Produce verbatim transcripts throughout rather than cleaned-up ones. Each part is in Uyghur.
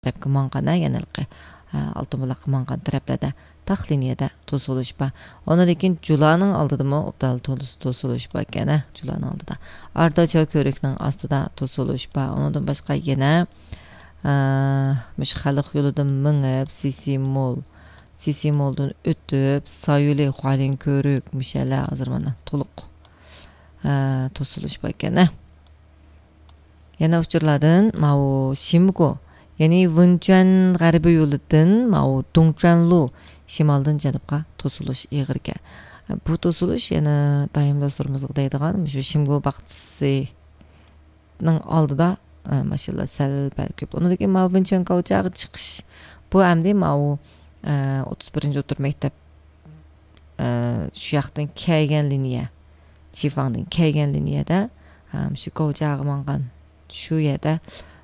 تەرەپكە ماڭغان، ھە، يەنە ھېلىقى، ئە، ئالتۇن بۇلاققا ماڭغان تەرەپلەردە تاق لىنىيەدە توسۇلۇش بار. ئۇنىڭدىن كېيىن جۇلانىڭ ئالدىدىمۇ ئوبدان توس-، توسۇلۇش بار ئىكەن، ھە، جۇلانىڭ ئالدىدا. ئاردا چاۋ كۆۋرۈكنىڭ ئاستىدا توسۇلۇش بار. ئۇنىڭدىن باشقا يەنە، ئە، مۇشۇ خەلق يولىدىن مېڭىپ، سىسىمول، سىسىمولدىن ئۆتۈپ، سايولى، خۇالىن كۆۋرۈك، مۇشۇ يەرلەر ھازىر مانا تولۇق، ئە، توسۇلۇش بار ئىكەن، ھە. يەنە ئۇچۇرلاردىن ماۋۇ شىمگو، يەنى ۋېنچۈەن غەربىي يولىدىن ماۋۇ دۇڭچۈەنلۇ شىمالدىن جەنۇبقا توسۇلۇش ئېغىركەن. بۇ توسۇلۇش يەنە دائىم دوستلىرىمىزغا دەيدىغان مۇشۇ شىمگو باغچىسىنىڭ ئالدىدا، ئە، ماشىنىلار سەل پەل كۆپ. ئۇنىڭدىن كېيىن ماۋۇ ۋېنچۈەن گاۋجياغا چىقىش. بۇ ئەمدى ماۋۇ، ئە، ئوتتۇز بىرىنچى ئوتتۇرا مەكتەپ ئە، شۇ ياقتىن كەلگەن لىنىيە، چىفاڭدىن كەلگەن لىنىيەدە، ئە، شۇ گوجياغا ماڭغان شۇ يەردە،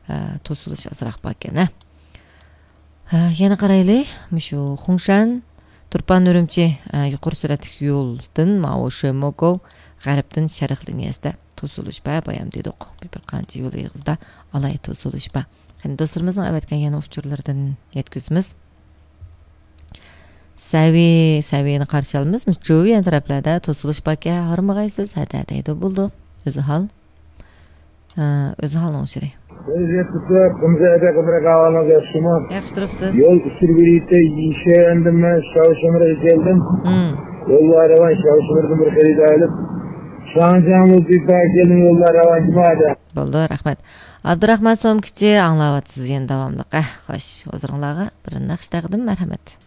ئە، توسۇلۇش ئازراق باركەن، ھە. ھە، يەنە قارايلى، مۇشۇ خۇڭشەن، تۇرپان ئۈرۈمچى، ئە، يۇقىرى سۈرئەتلىك يولدىن ماۋۇ شۆموگو غەربتىن شەرق لىنىيەسىدە توسۇلۇش بار، بايام دېدۇق. بىر، بىر قانچە يول ئېغىزىدا ئالاھىدە توسۇلۇش بار. قېنى، دوستلىرىمىزنىڭ ئەۋەتكەن يەنە ئۇچۇرلىرىدىن يەتكۈزىمىز. سەۋى، سەۋىنى قارشى ئالىمىز. جۇۋيەن تەرەپلەردە توسۇلۇش باركەن، ھارمىغايسىز، ھەدە دەيدۇ، بولىدۇ. ئۆزى ھال. ئە، ئۆزى ھالنىڭ ئۇچۇرى. ياخشى تۇرۇپسىز. يول ئۇچۇر بېرىشتە يىشەندىم، مەن شاۋشىمىرغا كەلدىم. يوللار راۋان، شاۋشىمىردىن بىر خېرىدار ئېلىپ، شاڭجياڭ بولۇپ كەلدىم، يوللار راۋان جۇمادا. بولدى، رەھمەت. ئابدۇراخمان سومكىچى ئاڭلاۋاتىسىز يەنە داۋاملىق. ئەھ، خوش، ھۇزۇرۇڭلارغا بىر ناخشا تەقدىم، مەرھەمەت.